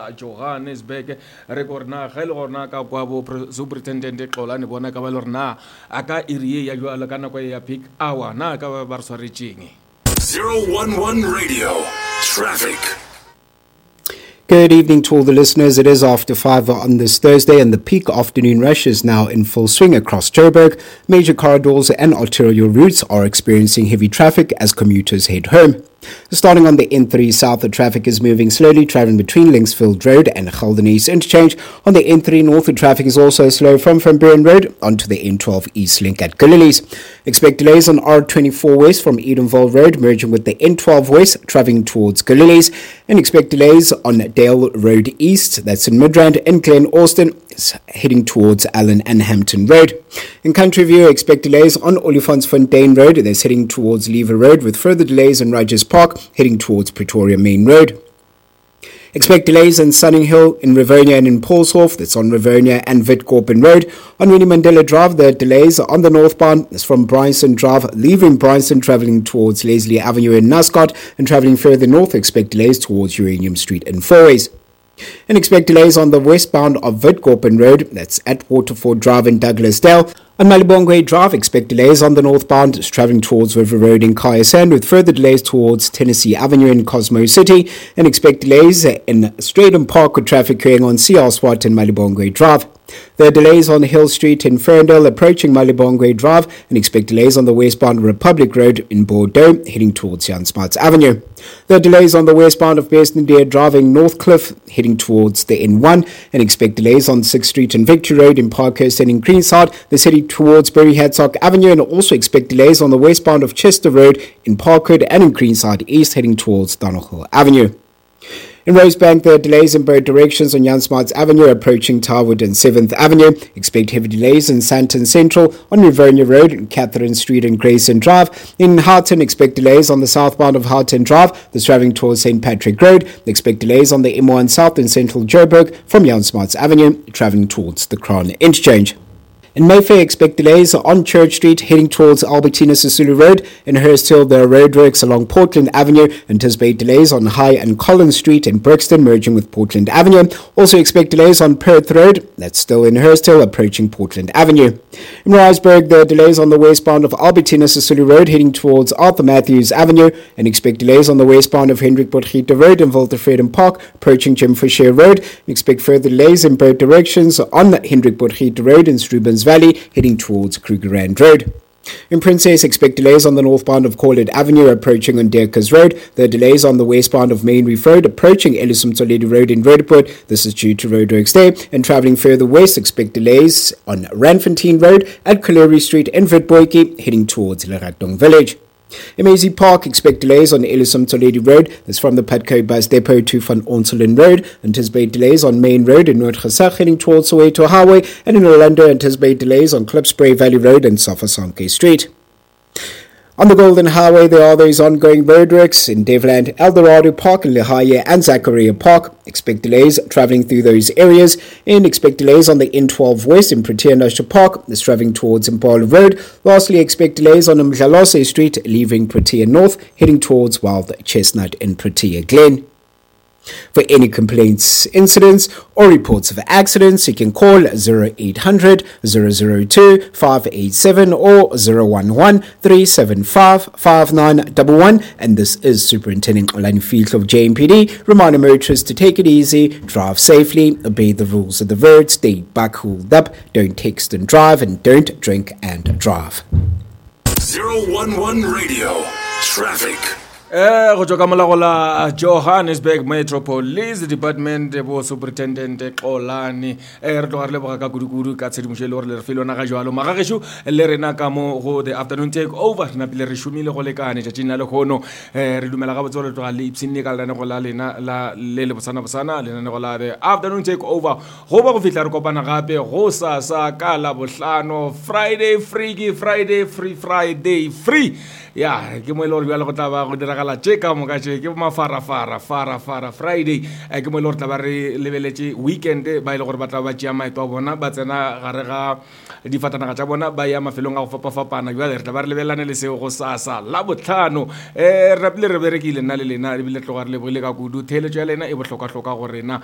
la Johannesburg. Re ko gore na ge e le gore na ka kwa bo Superintendent Xolani bona ka ba le gore na a ka iri ye ya jwalo ka nako ye ya peak hour na ka ba ba re swaretšeng. 011 Radio, Traffic. Good evening to all the listeners. It is after 5 on this Thursday, and the peak afternoon rush is now in full swing across Joburg. Major corridors and arterial routes are experiencing heavy traffic as commuters head home. Starting on the N3 south, the traffic is moving slowly, traveling between Linksfield Road and Geldenhuys Interchange. On the N3 north, the traffic is also slow from Van Buren Road onto the N12 East Link at Gillooly's. Expect delays on R24 West from Edenvale Road, merging with the N12 West, traveling towards Gillooly's. And expect delays on Dale Road East, that's in Midrand, and Glen Austin, heading towards Allen and Hampton Road. In Country View, expect delays on Olifantsfontein Road, that's heading towards Lever Road, with further delays in Rogers Park, heading towards Pretoria Main Road. Expect delays in Sunninghill, in Rivonia and in Paulshof, that's on Rivonia and Witkoppen Road. On Winnie Mandela Drive, the delays are on the northbound, it's from Bryanston Drive, leaving Bryanston, travelling towards Leslie Avenue in Nascot, and travelling further north, expect delays towards Uranium Street in Fourways. And expect delays on the westbound of Witkoppen Road, that's at Waterford Drive in Douglasdale. On Malibongwe Drive, expect delays on the northbound, travelling towards River Road in Kya Sand, with further delays towards Tennessee Avenue in Cosmo City, and expect delays in Strijdom Park with traffic queuing on CR Swart and Malibongwe Drive. There are delays on Hill Street in Ferndale approaching Malibongwe Drive, and expect delays on the westbound Republic Road in Bordeaux heading towards Jan Smuts Avenue. There are delays on the westbound of Besnedier driving Northcliff heading towards the N1, and expect delays on 6th Street and Victory Road in Parkhurst and in Greenside, the city towards Berry Hadsock Avenue, and also expect delays on the westbound of Chester Road in Parkwood and in Greenside East heading towards Donohill Avenue. In Rosebank, there are delays in both directions on Jan Smuts Avenue approaching Tarwood and 7th Avenue. Expect heavy delays in Sandton Central on Rivonia Road, and Catherine Street and Grayson Drive. In Houghton, expect delays on the southbound of Houghton Drive, that's traveling towards St. Patrick Road. Expect delays on the M1 South in Central Joburg from Jan Smuts Avenue, traveling towards the Crown Interchange. In Mayfair, expect delays on Church Street heading towards Albertina Sisulu Road. In Hurst Hill, there are roadworks along Portland Avenue. Anticipate delays on High and Collins Street in Brixton, merging with Portland Avenue. Also expect delays on Perth Road, that's still in Hurst Hill, approaching Portland Avenue. In Riseburg, there are delays on the westbound of Albertina Sisulu Road heading towards Arthur Matthews Avenue, and expect delays on the westbound of Hendrik Potgieter Road in Weltevreden Park, approaching Jim Fisher Road. And expect further delays in both directions on Hendrik Potgieter Road in Strubens Valley, heading towards Krugerrand Road. In Princess, expect delays on the northbound of Corlett Avenue approaching on Dirkers Road. There are delays on the westbound of Main Reef Road approaching Ellis Motsoaledi Road in Roodepoort. This is due to roadworks there. And travelling further west, expect delays on Randfontein Road at Colliery Street in Witpoortjie, heading towards Leratong Village. In Maisie Park, expect delays on Ellis Motsoaledi Road. That's from the Putco Bus Depot to Van Onselen Road. Anticipate delays on Main Road in Noordgesig heading towards Soweto Highway. And in Orlando, anticipate delays on Klipspruit Valley Road and Sofasonke Street. On the Golden Highway, there are those ongoing roadworks in Devland, Eldorado Park, Lehaie and Zachariah Park. Expect delays travelling through those areas, and expect delays on the N12 West in Protea National Park, that's travelling towards Impala Road. Lastly, expect delays on Mdlalose Street, leaving Protea North, heading towards Wild Chestnut in Protea Glen. For any complaints, incidents, or reports of accidents, you can call 0800 002 587 or 011 375 5911. And this is Superintendent Olani Field of JMPD, reminding motorists to take it easy, drive safely, obey the rules of the road, stay buckled up, don't text and drive, and don't drink and drive. 011 Radio. Traffic. Go tšwa ka molago la Johannesburg Metro Police Department, bo Superintendent Xolani, re tloga re leboga ka kudu-kudu ka tshedimošo e le gore le re file yona ga jalo. Magagešo le rena ka mo go The Afternoon Take Over, re napile re šomile go lekane tšatšing la lehono. Re dumela gabotse gore tloga le ipshinne ka lenanego la lena la le le bosana-bosana, lenanego la The Afternoon Take Over. Go ba go fihla re kopana gape go sasa ka Labohlano, Friday Freaky Friday, Free Friday Free. Ya ke mo e le gore bjale go tla ba go diragala tše ka moka tše ke mafarafara farafara Friday. Ke mo e le gore tla ba re lebeletše weekend, ba e le gore ba tla ba tšea maeto a bona ba tsena gare ga difatanaga tša bona ba ya mafelong a go fapafapana. Bjale re tla ba re lebelelane le seo go sasa Labohlano. Re rapile re berekile nna le lena, ebile tloga re lebogile ka kudu. Theeletšo ya lena e bohlokwahlokwa go rena.